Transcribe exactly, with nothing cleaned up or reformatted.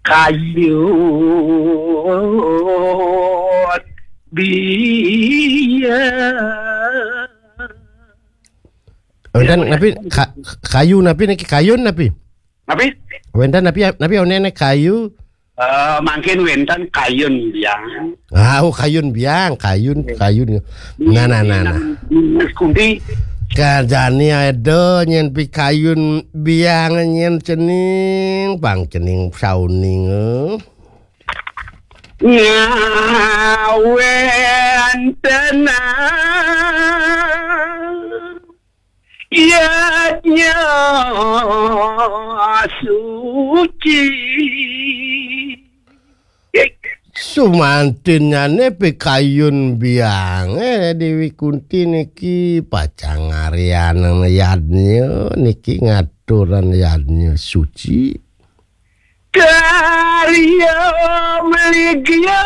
Kayun biang. Wénten napi ka, kayu napi niki kayun napi? Napi? Wénten napi napi onén kayu? Eh, mangkin wénten kayun biang. Ah, oh, kayun biang, kayun kayun. Nah nah nah nah. Kunti. Kajani ada nyén pikayun biang nyén cening, pang cening sauning. Eh. Ngawéntenan yadnya suci. Sumantinnyané pikayun biangé Déwi Kunti niki pacang ngaryanan yadnya niki ngaturan yadnya suci. Karya meligya